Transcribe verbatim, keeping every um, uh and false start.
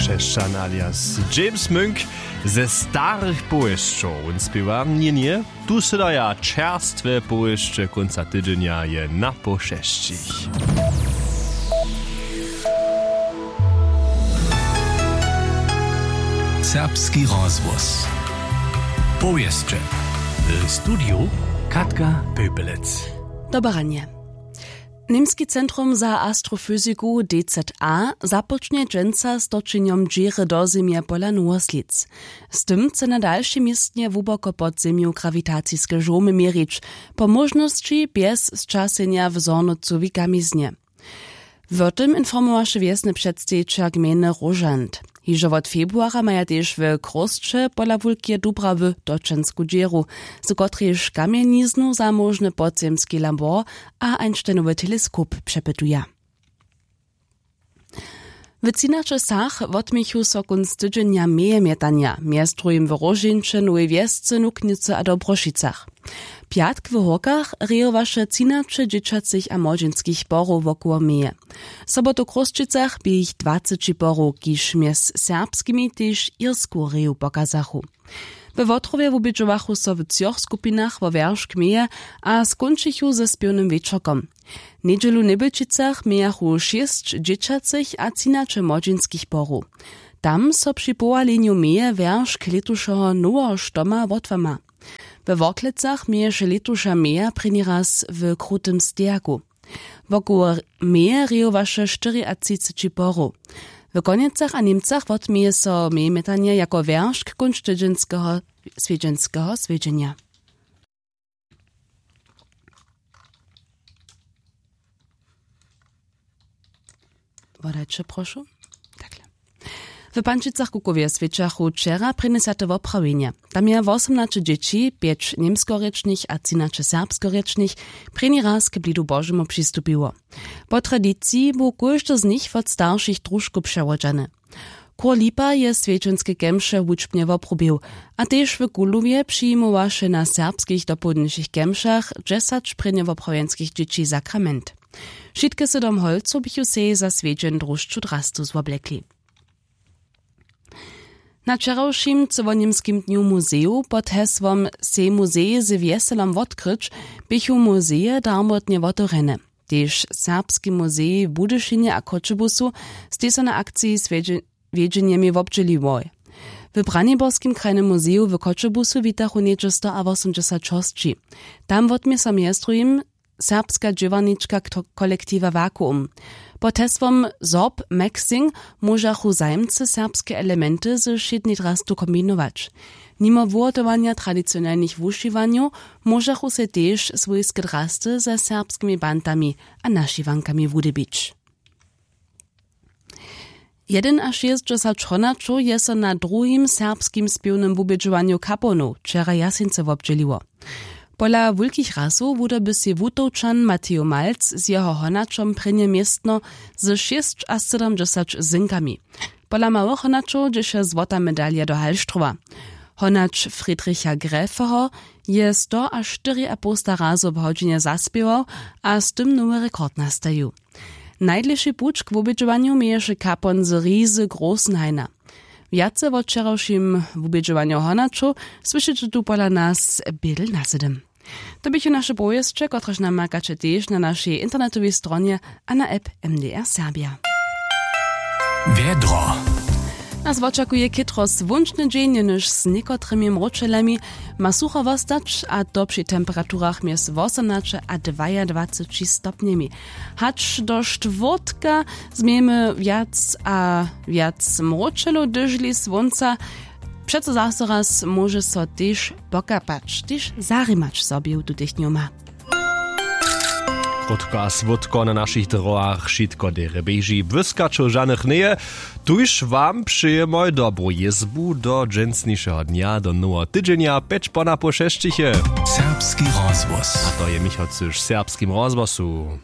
Pešćan alias James Munk ze starych powěsćow wón spěwa. Ně ně, tu sydaja čerstwe powěsće kónca tydźenja je na poł šesćich. Serbski rozhłos. Powěsće. W studiju Katka Pöpelec. Dobre ranje. Němski centrum za astrofyziku D Z A započnje dźensa z točenjom dźěry do zemje pola nowoslic. Z tym chce na dalšej městnje hłuboko pod zemju grawitaciske žołmy měrić, po móžnosći bjez sćasenja w zhornocowej kamiznje. Wo tym informowaše wjesny předstejićer gmejny Róžant. Hižo wot februara maja tež w Chrósće pola wulkeje Dubrawy točensku dźěru, z kotrejž kamjeniznu za móžny podzemski labor a Einsteinowy teleskop přepytuja. W třinaće wsach wotměchu so kónc tydźenja meje mjetanja, mjez druhim w Róžeńće, Nowej Wjesce, Nuknjecy a Dobrošicach. Pjatk w Hórkach rejowaše třinaće dźěćacych a młodźinskich porow wokoło meje. Sobotu w Chrósćicach bě jich dwaceći porow, kiž mjez serbskimi tež irsku reju pokazachu. We Wotrowje wubědźowachu so w třoch skupinach wo wjeršk meje a skónčichu ze spěwnym wječorkom. Njedźelu w Njebjelčicach mějachu šěsć dźěćacych a třinaće młodźinskich porow. Tam so při powalenju meje wjeršk lětušeho noweho štoma wotłama. We Worklecach měješe lětuša meja prěni raz w krutym stejaku. Wokoło meje rejowaše štyriatřiceći porow. W Konjecach a Němcach wotměje so mejemjetanje jako wjeršk kónčtydźenskeho swjedźenskeho swjedźenja. Wodajće, prošu. Takle. W Pančicach-Kukowje swjećachu wčera prěnjesate woprawjenje. Tam je wosomnaće dźěći, pjeć němskorěčnych a třinaće serbskorěčnych, prěni raz k blidu Božemu přistupiło. Po tradiciji bu kóždy z nich wot staršich družkow přewodźany. Kur Lipa je swjedźenske kemše wučbnje woprobił, a tež w Kulowje přijimowaše na serbskich dopołdnišich kemšach dźesać prěnjowoprawjenskich dźěći sakrament. Wšitke sydom holcow běchu sej za swjedźeń drušću drastu zwoblekli. Na wčerawšim cyłoněmskim dnju muzejow pod hesłom „Sej muzej z wjeselom wotkryć“ běchu muzeje darmotnje wotewrjene. Tež Serbski muzej w Budyšinje a Choćebuzu stej so na akciji z wjedźe-, wjedźenjemi wobdźěliłoj. W Braniborskim krajnym muzeju w Choćebuzu witachu něhdźe sto a wosomdźesać hosći. Tam wotmě so mjez druhim serbska dźěłarnička kto-, kolektiwa Vakuum. Pod hesłom „Zorb Maxing“ móžachu zajimcy serbske elementy ze wšědnej drastu kombinować. Nimo wuhotowanja tradicionelnych wušiwanjow móžachu sej tež swójske drasty ze serbskimi bantami a našiwankami wudybić. Jedynašěsćdźesać honaćow je so na druhim serbskim spěwnym wubědźowanju Kaponow wčera Jaseńcy wobdźěliło. Pola wulkich rasow wudoby sej Wutowčan Matejo Malc z jeho honaćom prěnje městno ze šěsćasydomdźesać zynkami. Pola małych honaćow dźěše złota medalja do Hallstrowa. Honać Friedricha Gräfeho je stoaštyriapołsta razow w hodźinje zaspěwał a z tym nowy rekord nastajił. Najdlěši puć k wubědźowanju měješe kapon z Rizy Großenhaina. Wjace wo wčerawšim wubědźowanju honaćow słyšeće tu pola nas bědel na sydym. To běchu naše powěsće, kotrež namakaće tež na našej internetowej stronje a na app M D R Serbia. Wjedro. Nas wočakuje chětro słónčny dźeń, jenož z někotrymi mróčelemi ma sucho wostać, a to při temperaturach mjez wosomnaće a dwajadwaceći stopnjemi. Hač do štwórtka změjemy wjac a wjac mróčelow, hdyžli słónca. Přeco zaso raz móže so tež pokapać, tež zarimać so bě w tutych dnjoma. Krótko a słódko na našich drogach wšitko derje běži, błyskaćow žanych njeje. Tuž wam přejemoj dobru jězbu do dźensnišeho dnja, do noweho tydźenja, pjeć ponapoł šesćich je Serbski rozhłos. A to je Michał Cyš w Serbskim rozhłosu.